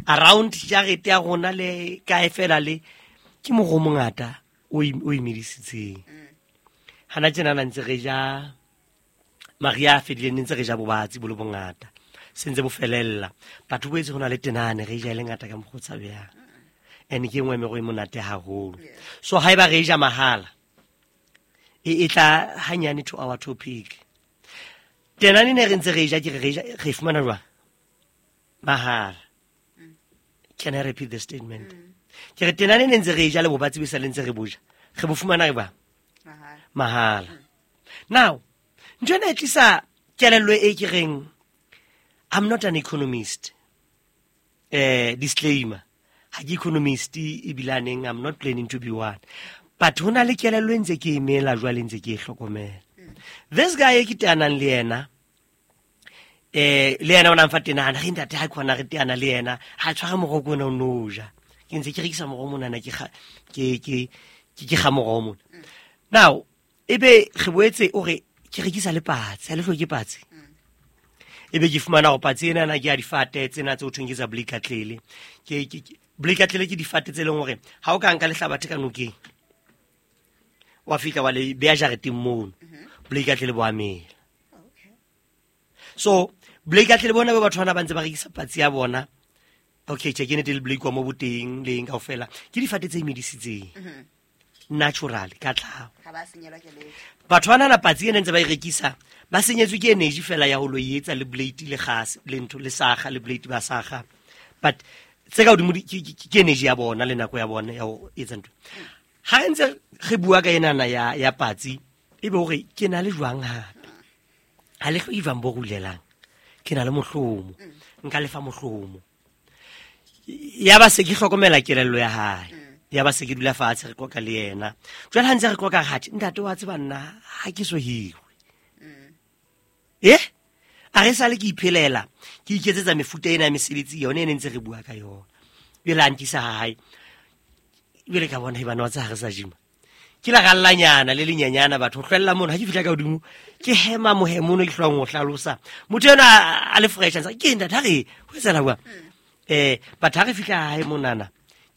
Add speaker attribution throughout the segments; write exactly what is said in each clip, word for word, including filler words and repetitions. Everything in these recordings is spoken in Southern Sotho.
Speaker 1: Around jarete ya rona le kae fela le ke moroho o mongata o o imedisitseng. Hana tjena na ntse re ja Maria a fedileng ntse re ja bobatsi bo le bongata. Se ntse bo felella. Batho boetse ho na le tenane re ja e le ngata ka mokgwa o tshabehang. And ke e nngwe ya meroho e monate haholo. So haeba re ja mahala e e tla hanyane to our topic. Tenane ne re ntse re ja ke re re ja re fumana jwang? Mahala. Can I repeat the statement? Ke re tenane ne ntse re ja le bobatsi bo sa le ntse re boja. Re bo fumana jwang? Mahala. Now, ntho ena e tlisa kelello e ke reng I'm not an economist. Eh, disclaimer. Ha ke economist ebilaneng, I'm not planning to be one. But ho na le kelello e ntse ke emela jwale ntse ke e hlokomela. This guy e ke teanang le yena, eh le yena o na mfa tenana, re ntate ha khona re teana le yena, ha tshwara moroho ko ona o no ja. Ke ntse ke rekisa moroho monana ke ke ke ke ga moroho mona. Now, ebe re boetse o re ke rekisa le patsi, ha le hloke patsi. Ebe ke fumana hore patsi ena na ke ya difate tsena tse ho thweng ke tsa blikatlele. Ke ke blikatlele ke difate tse leng hore ha o ka nka lehlabathe ka nokeng, wa fihla wa le beha jareteng mono, blikatlele bo a mela. So blikatlele bona ba batho bana ba ntse ba rekisa patsi ya bona. Okay, tjhe ke nnete le blake wa mo boteng le eng kaofela. Ke difate tse imedisitseng. Natural ka tlhaho.
Speaker 2: Ha ba senyelwa ke letho.
Speaker 1: Batho bana na patsi ena ntse ba e rekisa, ba senyetswe ke energy fela ya ho lo etsa le blade le gas le ntho le saga le blade ba saga. But tse ka hodimo ke energy ya bona le nako ya bona ya ho etsa ntho. Ha re ntse re bua ka enana ya ya patsi, ebe hore ke na le jwang hape. Ha le hloke jwang bo rulelang. Ke na le mohlomo. Nka lefa mohlomo. Ya ba se ke hlokomela kelello ya hae. Ya ba se ke dula fatshe re qoqa le yena. Jwale ha ntse re qoqa hatjhe, ntate wa tseba nna ha ke so hirwe. Eh? A re sale ke iphelela, ke iketsetsa mefuta ena ya mesebetsi yona e ne ntse re bua ka yona. Jwale a nkisa ha hae. Jwale ka bona bana wa tsa ha re sa jima. Ke la gallanyana le lenyanyana batho ho hlwella mono ha ke fihla ka hodimo ke hema mohemo ono ke hlwang ho hlalosa. Motho ena a le fresh a ntse ke ntate ha re ho etsahala jwang? Eh batho ha re fihla hae monana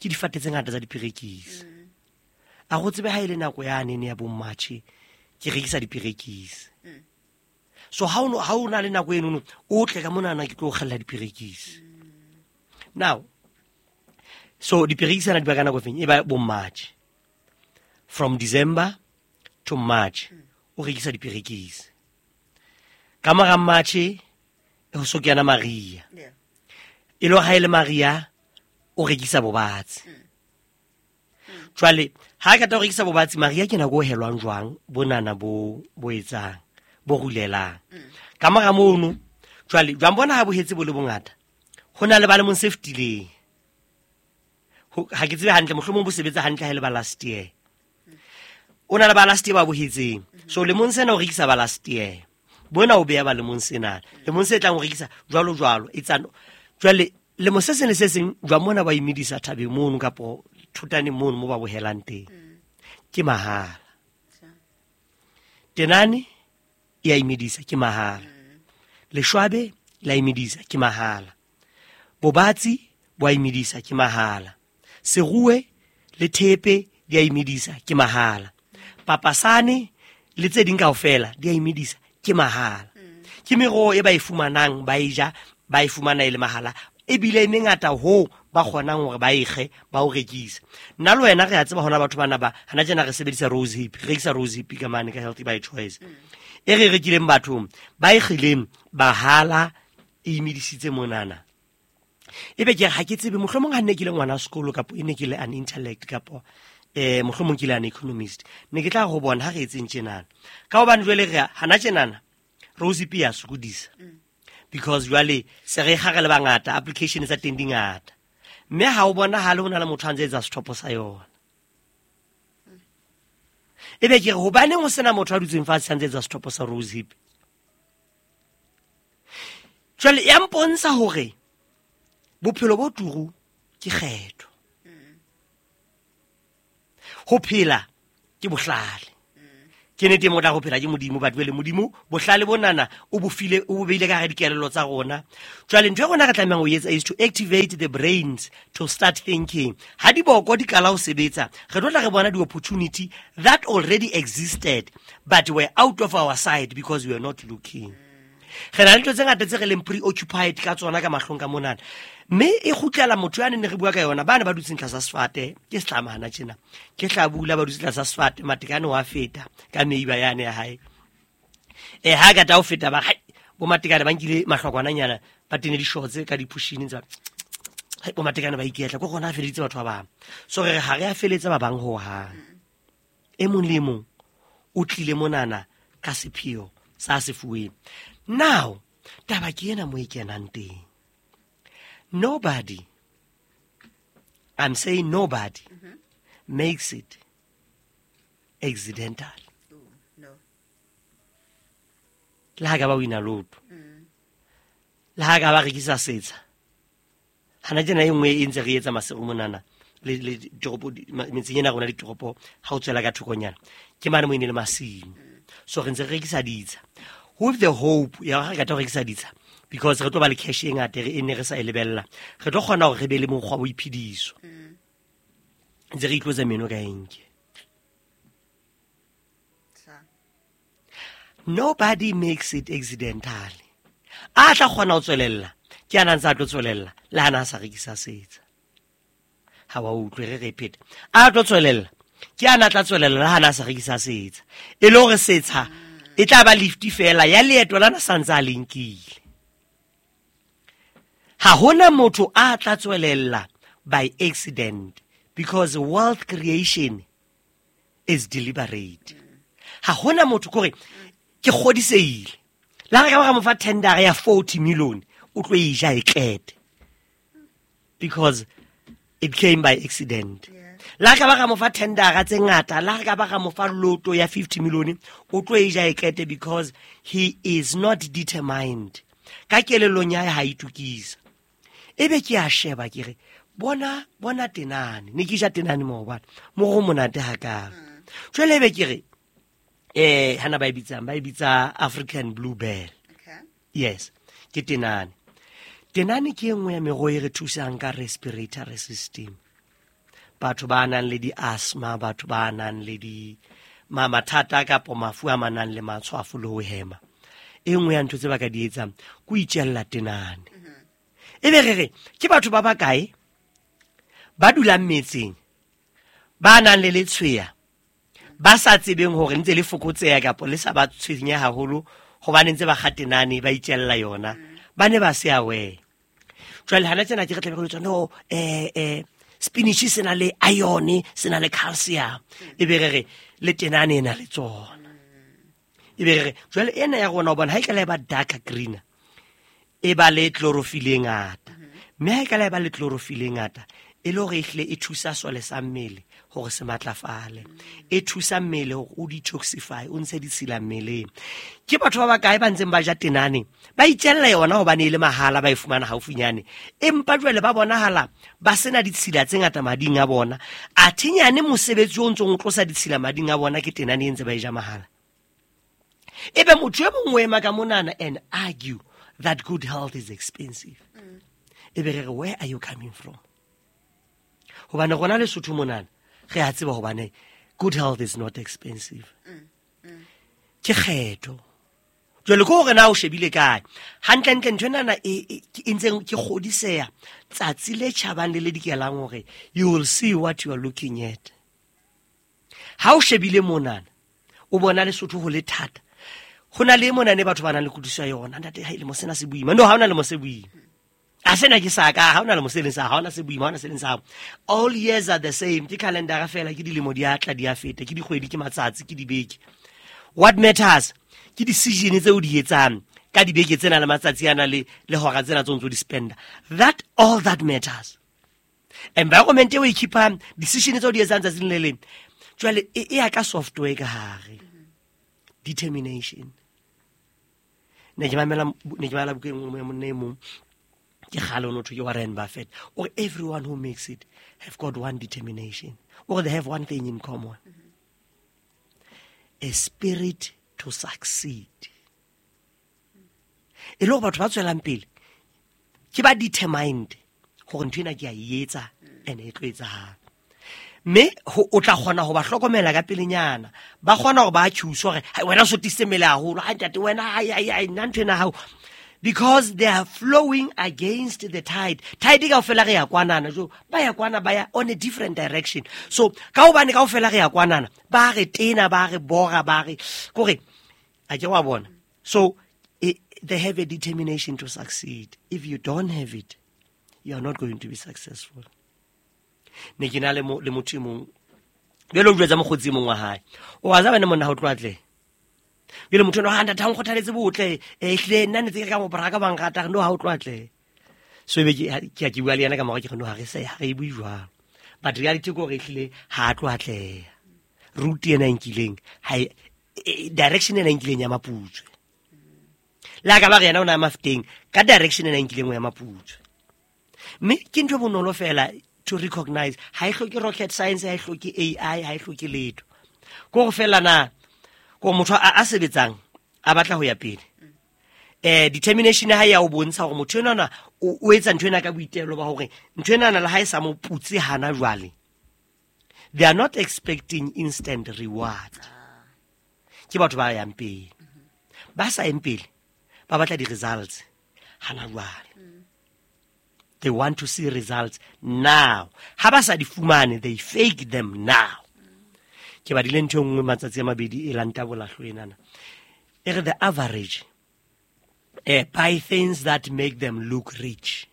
Speaker 1: ke difate tse ngata tsa diperekisi. A go tsebe ha ile nako ya nene ya bo March ke rekisa diperekisi. So ha o ha o na le nako eno o tle ka monana ke tlo kgella diperekisi. Now so diperekisi ana di ba ka nako feng e ba bo March. From December to March o rekisa diperekisi. Ka mora March e ho so kena Maria. E lo ha ile Maria o rekisa bobatsi. Jwale ha ka ta o rekisa bobatsi Maria ke nako o helwang jwang bonana bo bo etsang bo rulelang. Ka mora mono jwale jwang bona ha bo hetse bo le bongata ho na le ba le mong se fetileng. Ha ke tsebe hantle mohlomong bo sebetsa hantle ha ile ba last year. O na le ba last year ba bo hetseng. So lemong sena o rekisa ba last year. Bona o beya ba lemong sena. Lemong se tlang o rekisa jwalo jwalo e tsano. Jwale lemo se seng le se seng jwa mona ba imedisa thabeng mono kapo thutane mono mo ba bohelang teng. Ke mahala. Tenane ya imedisa ke mahala. Leshwabe la imedisa ke mahala. Bobatsi bo a imedisa ke mahala. Seruwe le thepe di a imedisa ke mahala. Papasane le tse ding kaofela di a imedisa ke mahala. Ke meroho e ba e fumanang ba e ja ba e fumana e le mahala. Ebile e mengata ho ba kgonang hore ba ekge ba o rekisa. Nna le wena re a tseba hona batho bana ba hana tjena re sebedisa rose hip, re rekisa rose hip ka mane ka Healthy by Choice. E re rekileng bathong ba ekgileng bahala e imedisitse monana. Ebe ke ha ke tsebe mohlomong ha nne ke le ngwana sekolo kapo e ne ke le an intellect kapo eh mohlomong ke le an economist ne ke tla go bona ha re etseng tjenana. Ka hobane jwale re hana tjenana rose hip ya sokodisa. Because jwale se re gare le bangata application tsa teng di ngata. Mme ha o bona ha le hona le motho a ntse etsa sethopo sa yona. Ebe ke re hobaneng ho sena motho a dutseng fatshe a ntse etsa sethopo sa rose hip. Jwale ya mpontsha hore bophelo bo turu ke kgetho. Ho phela ke bohlale. Ke nnete mo tla go phela ke Modimo, but jwale Modimo bohlale bonana o bo file, o bo beile ka hara dikelello tsa rona. Jwale ntho e rona re tlamehang ho etsa is to activate the brains to start thinking. Ha diboko di qala ho sebetsa, re tlo tla re bona di-opportunity that already existed but were out of our sight because we were not looking. Re na le ntho tse ngata tse re leng preoccupied ka tsona ka mahlong ka monana. Mme e kgutlela motho yane ne re bua ka yona, ba ne ba dutseng tlasa sefate, ke setlamana tjena. Ke hlabula ba dutse tlasa sefate, Matekane wa feta ka meiba yane ya hae. Eh ha ka ta o feta ba hai bo Matekane ba nkile mahlokwananyana, ba tene di-shorts ka di-pushini tsa hai bo Matekane ba iketla, ko rona a feleditse batho ba bang. So re re ha re a feletsa ba bang ho hang. E mong le e mong o tlile monana ka sepheo sa se fuweng. Now, taba ke ena mo e kenang teng. Nobody, I'm saying nobody,
Speaker 2: mm-hmm.
Speaker 1: makes it accidental.
Speaker 2: Ooh, no.
Speaker 1: Le ha ka ba wina lotto.
Speaker 2: Mm.
Speaker 1: Le ha ka ba rekisa setsha. Hana tjena e nngwe e ntse re etsa masego monana le le ditoropo, metseng ena rona ditoropo, ha o tswela ka thokonyana. Ke mane mo e ne le masimo. So re ntse re rekisa ditsha. With the hope ya re ka tlo rekisa ditsha, because re tlo ba le cash e ngata re e ne re sa e lebella, re tlo kgona hore re be le mokgwa wa boiphediso. Ntse re itlotsa meno ka enke. Nobody makes it accidentally. A tla kgona ho tswelella, ke ana ntse a tlo tswelella le ha na sa rekisa setsha. Ha wa utlwe re repeat. A tlo tswelella, ke ana tla tswelella le ha na sa rekisa setsha. E le hore setsha e tla ba lift fela ya leeto lana sa ntse a le nkile. Ha hona motho a tla tswelella by accident, because wealth creation is deliberate. Ha hona motho kore ke kgodisehile. La re ka ba mo fa tender ya forty million, o tlo e ja e qete. Because it came by accident. La ka ba ka mo fa tender tse ngata, la ka ba ka mo fa lotto ya fifty million, o tlo e ja e qete because he is not determined. Ka kelellong ya hae ha itukisa. Ebe ke a sheba ke re bona bona tenane, ne ke ja tenane mo hobane mo go monate hakang. Jwale ebe ke re eh hana ba e bitsang, ba e bitsa African bluebell.
Speaker 2: Okay.
Speaker 1: Yes, ke tenane. Tenane ke e nngwe ya meroho e re thusang ka respiratory system. Batho ba nang le di-asthma, batho ba nang le di ma mathata kapo mafu a manang le matshwafo le ho hema. E nngwe ya ntho tse ba ka di etsang ke ho itjella tenane. Ebe re re ke batho ba bakae ba dulang metseng ba nang le letshweya ba sa tsebeng hore ntse le fokotseha kapa le sa ba tshwenye haholo hobane ntse ba kgatenane ba itjella yona, ba ne ba se aware. Jwale hana tsena ke re tlabe re tswa no eh eh spinach se na le iron, se na le calcium, ebe re re le tenane ena le tsona. Ebe re re jwale ena ya rona hobane ha e tla ba dark green e ba le chlorophyll e ngata, mme ha e ka la ba le chlorophyll e ngata e le hore ehle e thusa sole sa mmele hore se matlafale, e thusa mmele hore o detoxify, o ntshe ditshila mmeleng. Ke batho ba bakae ba ntseng ba ja tenane ba itjella yona hobane e le mahala, ba e fumana haufinyane, empa jwale ba bonahala ba sena ditshila tse ngata mading a bona. Athe nyane mosebetsi o ntsong o tlosa ditshila mading a bona ke tenane e ntse ba e ja mahala. Ebe motho e mongwe o ema ka monana and argue that good health is expensive. Ebe re re where are you coming from? Hobane rona Lesotho monana re a tseba hobane good health is not expensive. Ke kgetho. Jwale ko hore na o shebile kae. Hantlentle ntho enana e e ntseng ke kgodiseha tsatsi le tjhabang le le dikelang hore you will see what you are looking at. Ha o shebile monana o bona Lesotho ho le thata. Ho na le mona ne batho ba nang le kutlwisiso ya yona. Ntate ha ile mo sena se boima. No, ha hona le mo se boima. A sena ke sa ka, ha hona le mo se leng sa, ha hona se boima, ha hona se leng sa. All years are the same. Ke calendar fela, ke dilemo di a tla di a feta, ke dikgwedi, ke matsatsi, ke dibeke. What matters ke decision tse o di etsang ka dibeke tsena le matsatsi ana le le hora tsena tse o ntso di spenda. That all that matters. Environment e o e keep-ang, decision tse o di etsang tsatsing le leng. Jwale e ya ka software ka hare. Determination. Ne ke mamela, ne ke bala buka e nngwe ya monna e mong, ke kgale o no thwe ke Warren Buffett. Or everyone who makes it have got one determination, or they have one thing in common. A spirit to succeed. E le hore batho ba tswelang pele ke ba determined hore ntho ena ke a e etsa and e tlo etsahala. Mme o tla kgona ho ba hlokomela ka pelenyana. Ba kgona hore ba accuse hore wena o sotisitse mmele haholo, ha ntate wena ai ai ai nna ntho ena hao, because they are flowing against the tide. Tide kaofela re ya kwanana, jo ba ya kwana, ba ya on a different direction. So ka hobane kaofela re ya kwanana, ba re tena, ba re bora, ba re kore a ke wa bona. So it, they have a determination to succeed. If you don't have it, you are not going to be successful. Ne ke na le le motho e mong jwale o jwetsa mokgotsi e mong wa hae, o a tsaba ne monna ha o tloha tle jwale motho eno ha ntate ha o nkgothaletse botle, eh hlile nna ne tse ke ka mo braka ba nrata, no ha o tloha tle. So ebe ke ke ke bua le yena ka mora, ke re no ha re se ha re bue jwalo, but reality ke hore hlile ha tloha tle route ena e nkileng ha direction ena e nkileng ya Maputswe, le ka ba re yena o na Mafeteng ka direction ena e nkileng ya Maputswe. Mme ke ntho bonolo fela to recognize, ha e hloke rocket science, ha e hloke A I, ha e hloke letho. Ko go fela na ko motho a a sebetsang a batla ho ya pele, eh determination ha ya o bontsha hore motho enwana o etsa ntho ena ka boitelo ba hore ntho ena le ha e sa mo putse hana jwale. They are not expecting instant reward. Ke batho ba yang pele, ba sa yang pele ba batla di results hana jwale. They want to see results now. Ha ba sa di fumane, they fake them now. Ke badile ntho e nngwe matsatsi a mabedi e lanta bolahlo enana. E re the average eh, buy things that make them look rich.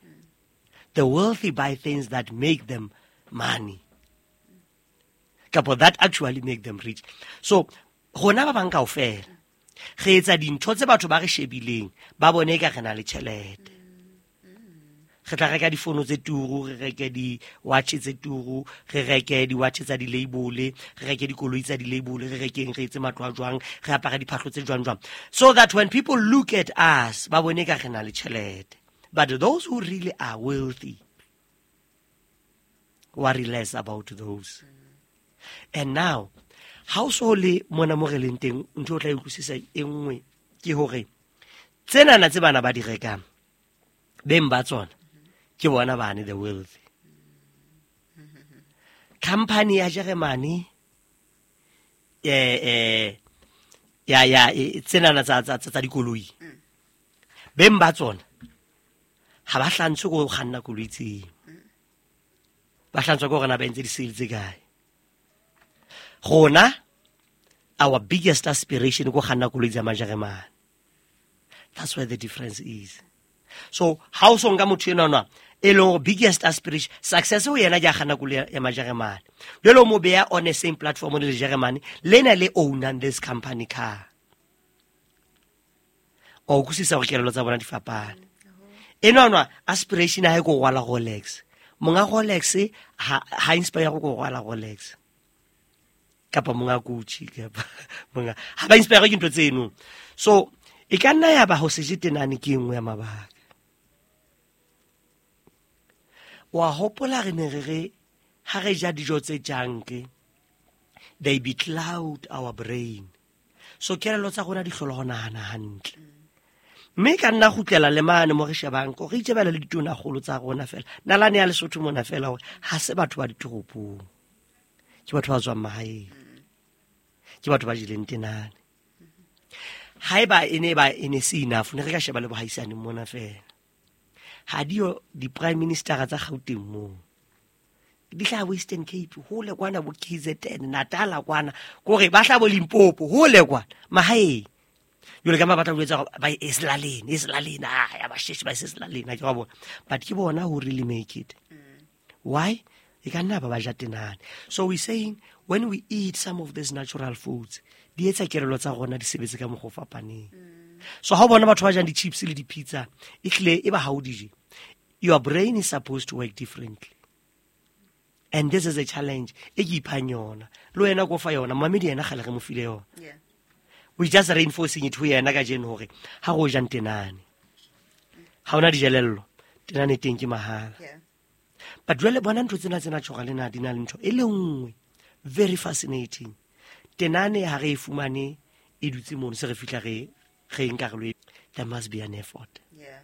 Speaker 1: The wealthy buy things that make them money. Kapo that actually make them rich. So, rona ba bang kaofela re etsa dintho tse batho ba re shebileng ba bone ka re na le tjhelete. Re tla reka difono tse turu, re reke di-watch tse turu, re reke di-watch tsa di-label, re reke dikoloi tsa di-label, re rekeng re etse matlo a jwang, re apare diphahlo tse jwang jwang, so that when people look at us ba bone ka re na le tjhelete. But those who really are wealthy worry less about those. And now ha o so le mona mo re leng teng, ntho o tla utlwisisa e nngwe ke hore tsenana tse bana ba di rekang beng ba tsona ke bona bane the wealthy. Company ya Germany eh eh ya ya tsenana tsa tsa tsa dikoloi beng ba tsona ha ba hlantshwe go kganna koloi tseo, ba hlantshwa ke hore na ba entse di-sale tse kae. Rona our biggest aspiration ko kganna koloi tsa Majeremane. That's where the difference is. So ha o so nka motho enwa e leng biggest aspiration success ho yena ke a kganna koloi ya Majeremane, jwale o mo beya on the same platform le Jeremane lena le ownang this company car. O utlwisisa hore kelello tsa bona di fapane. Enwa aspiration ha e ko rwala Rolex, monga Rolex ha ha inspire go rwala Rolex kapa monga Gucci kapa monga ha ba inspire ke ntho tseno. So e ka nna ya ba ho se je tenane ke nngwe ya mabaka. Wa hopola re ne re re ha re ja dijo tse junk, they becloud our brain. So kelello tsa rona di hlola ho nahana hantle. Mme ka nna kgutlela le mane mo re shebang ko re itjebela le ditona kgolo tsa rona fela. Nalane ya Lesotho mona fela hore ha se batho ba ditoropong, ke batho ba tswang mahaeng, ke batho ba jeleng tenane. Haeba e ne ba e ne se enough, ne re ka sheba le bohaisane mona fela. Ha dio di-prime minister tsa Gauteng moo, di tla Western Cape hole kwana, bo K Z N Natal kwana, kore ba hla bo Limpopo hole kwana mahaeng. Jwale ka ba batla ho etsa ba e selaleng, e selaleng, ah ya ba sheshe ba selaleng, ha ke wa bona. But ke bona who really make it. Why? E ka nna ba ba ja tenane. So we saying when we eat some of these natural foods, di etsa kelello tsa rona di sebetse ka mokgwa o fapaneng. So ha o bona batho ba jang di-chips le di-pizza, e hlile e ba ha o di je, your brain is supposed to work differently. And this is a challenge e ke iphang yona. Le wena ko fa yona, mamedi yena kgale re mo file yona.
Speaker 2: Yeah.
Speaker 1: We just reinforcing it ho yena kajeno hore ha go jang tenane, ha ona dijelello, tenane teng ke mahala.
Speaker 2: Yeah.
Speaker 1: But jwale bona ntho tsena tsena tjhoga le na di na le ntho e le nngwe very fascinating. Tenane ha re e fumane e dutse mono, se re fihla re re nka re lo e- there must be an effort.
Speaker 2: Yeah.